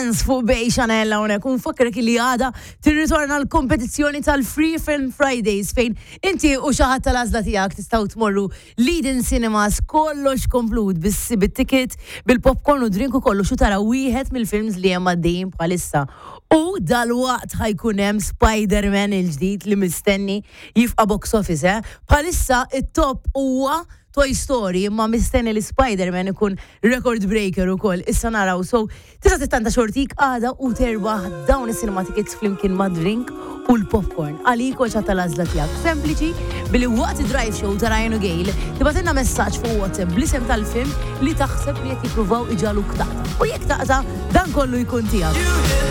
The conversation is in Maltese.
Dance fuq Bay Chanel hawnhekk u nfakkrek li għada tirritorna l-kompetizzjoni tal-Free Film Fridays fejn inti u xi ħadd tal-għażla tiegħek tistgħu tmorru Leading Cinemas kollox komplut bit-ticket, bil-popcorn u drink u kollox u tara wieħed mill-films li hemm għaddejjin bħalissa. U dalwaqt ħa jkun hemm Spider-Man il-ġdid li mistenni jifqa' box office, eh? Bħalissa it-top huwa Toy Story imma mistenni li Spider-Man ikun record breaker ukoll. Issa naraw. So, tista' tittanta xortik għada u terbaħ dawn is-cinema tickets flimkien ma' drink u l-popcorn. Għalik u tal-għażla tiegħek. Sempliċi billi waqt drive show ta' Ryan u Gail tibgħatilna messaġġ fuq WhatsApp bl-isem tal-film li taħseb li qed jippruvaw iġagħluk taqta'. U jekk taqta' dan kollu jkun tiegħek.